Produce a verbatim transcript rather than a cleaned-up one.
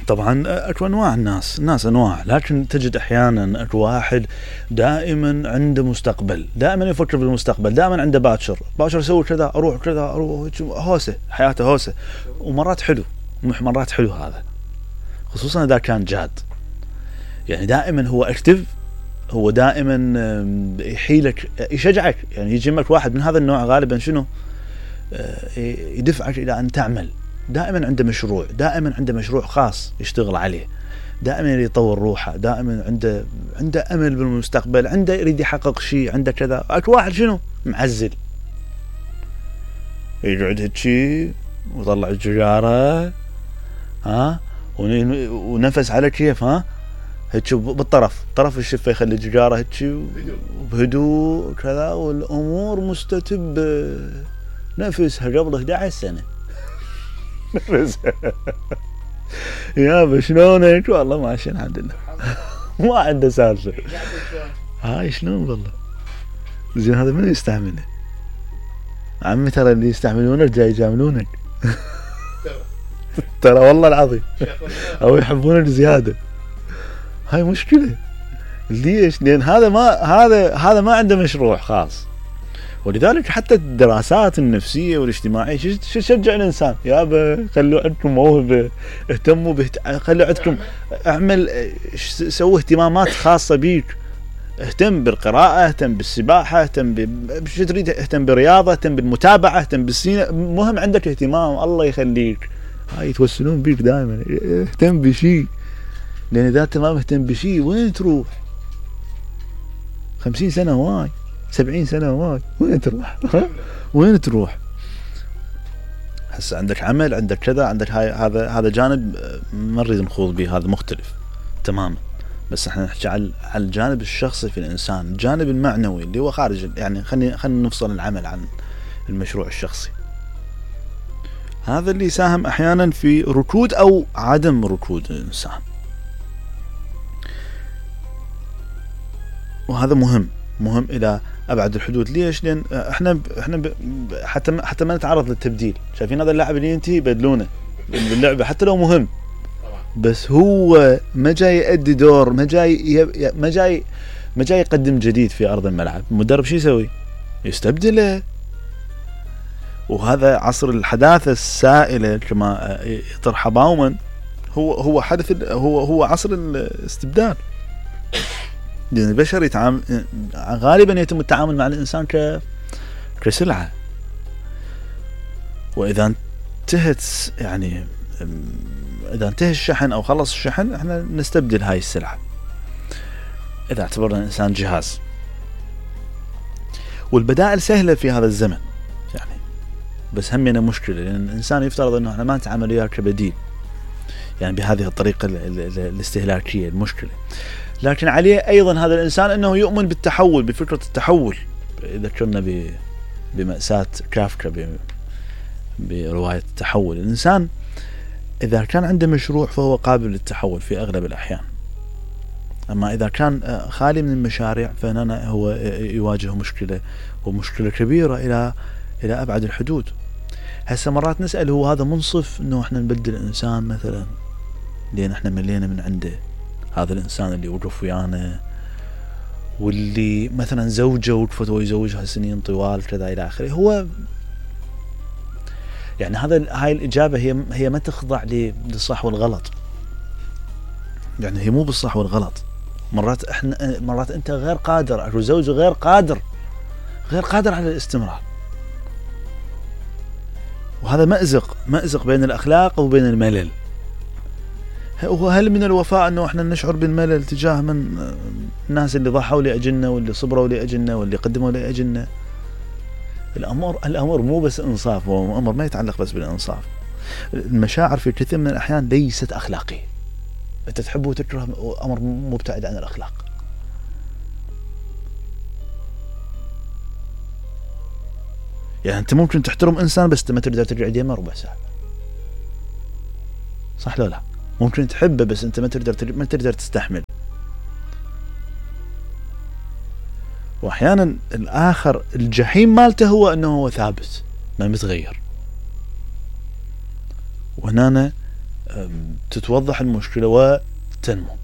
طبعا اكو انواع الناس الناس انواع، لكن تجد احيانا اكو واحد دائما عنده مستقبل، دائما يفكر بالمستقبل، دائما عنده باكر باكر اسوي كذا، اروح كذا، اروح هوسه، حياته هوسه، ومرات حلو، مرات حلو هذا، خصوصا اذا كان جاد. يعني دائما هو اكتف، هو دائما يحيلك، يشجعك، يعني يجي لك واحد من هذا النوع غالبا شنو يدفعك الى ان تعمل، دائما عنده مشروع، دائما عنده مشروع خاص يشتغل عليه، دائما يطور روحه، دائما عنده عنده امل بالمستقبل، عنده يريد يحقق شيء، عنده كذا. اكو واحد شنو معزل، يقعد هيك ويطلع السيجاره، ها، ونفس على كيف، ها، هيك بالطرف طرف الشفه، يخلي السيجاره هيك بهدوء كذا، والامور مستتبه، نفسها قبل إحدى عشرة سنه. نفسها يابا شلونك؟ والله ماشي الحمد لله، ما عنده سالفه. هاي شلون والله زين، هذا من يستعمله؟ عمي ترى اللي يستعملونك جاي يجاملونك. ترى والله العظيم، او يحبونك زياده. هاي مشكله. ليش؟ لان هذا ما هذا هذا ما عنده مشروع خاص. ولذلك حتى الدراسات النفسيه والاجتماعيه شو تشجع الانسان؟ يابا خلوا عندكم موهبه، اهتموا بهت... خلوا عندكم، اعمل، سووا اهتمامات خاصه بيك، اهتم بالقراءه، اهتم بالسباحه، اهتم ب... شو تريد، اهتم بالرياضه، اهتم بالمتابعه، اهتم بالسينما، مهم عندك اهتمام، الله يخليك. هاي يتوسلون بيك دائما، اهتم بشيء، لان اذا انت ما مهتم بشيء وين تروح؟ خمسين سنه هواي، سبعين سنه هواي، وين تروح؟ وين تروح؟ هسه عندك عمل، عندك كذا، عندك هاي، هذا هذا جانب ما نريد نخوض به، هذا مختلف تماما. بس احنا نحكي على على الجانب الشخصي في الانسان، الجانب المعنوي اللي هو خارج، يعني خلينا خلينا نفصل العمل عن المشروع الشخصي. هذا اللي يساهم احيانا في ركود او عدم ركود الانسان، وهذا مهم مهم الى ابعد الحدود. ليش؟ لان احنا احنا حتى حتى ما نتعرض للتبديل. شايفين هذا اللاعب اللي ينتهي يبدلونه باللعبه حتى لو مهم، بس هو ما جاي يؤدي دور، ما جاي ما جاي ما جاي يقدم جديد في ارض الملعب. المدرب شو يسوي؟ يستبدله. وهذا عصر الحداثه السائله كما يطرح باومان، هو هو حدث، هو هو عصر الاستبدال. لأن البشر يتعامل غالبا، يتم التعامل مع الإنسان ك كسلعة، وإذا انتهت، يعني إذا انتهى الشحن أو خلص الشحن، إحنا نستبدل هاي السلعة إذا اعتبرنا الإنسان جهاز. والبدائل سهلة في هذا الزمن يعني، بس همنا مشكلة، لأن الإنسان يفترض أنه إحنا ما نتعامل وياه كبديل، يعني بهذه الطريقة الاستهلاكية المشكلة. لكن عليه أيضا هذا الإنسان أنه يؤمن بالتحول، بفكرة التحول. إذا كنا بمأساة كافكا برواية التحول، الإنسان إذا كان عنده مشروع فهو قابل للتحول في أغلب الأحيان. أما إذا كان خالي من المشاريع فهنا هو يواجه مشكلة، ومشكلة كبيرة إلى إلى أبعد الحدود. هسه مرات نسأل، هو هذا منصف أنه إحنا نبدل الإنسان مثلا لأن إحنا ملينا من عنده؟ هذا الإنسان اللي وقف ويانا، واللي مثلا زوجه وقفت ويزوجها سنين طوال كذا إلى آخره، هو يعني هذا هاي الإجابة هي هي ما تخضع للصح والغلط، يعني هي مو بالصح والغلط. مرات إحنا مرات أنت غير قادر، أو زوجه غير قادر غير قادر على الاستمرار، وهذا مأزق مأزق بين الأخلاق وبين الملل. وهل من الوفاء أنه إحنا نشعر بالملل تجاه من الناس اللي ضحوا لأجلنا، واللي صبروا لأجلنا، واللي قدموا لأجلنا؟ الأمر الأمر مو بس إنصاف، هو أمر ما يتعلق بس بالإنصاف. المشاعر في كثير من الأحيان ليست أخلاقية. أنت تحب وتكره، أمر مبتعد عن الأخلاق. يعني أنت ممكن تحترم إنسان بس ما تقدر تقعد يمه ربع ساعة، صح لا لا؟ ممكن تحبه بس أنت ما تقدر ما تقدر تستحمل. وأحيانا الآخر الجحيم مالته هو أنه هو ثابت ما متغير. وهنا تتوضح المشكلة وتنمو.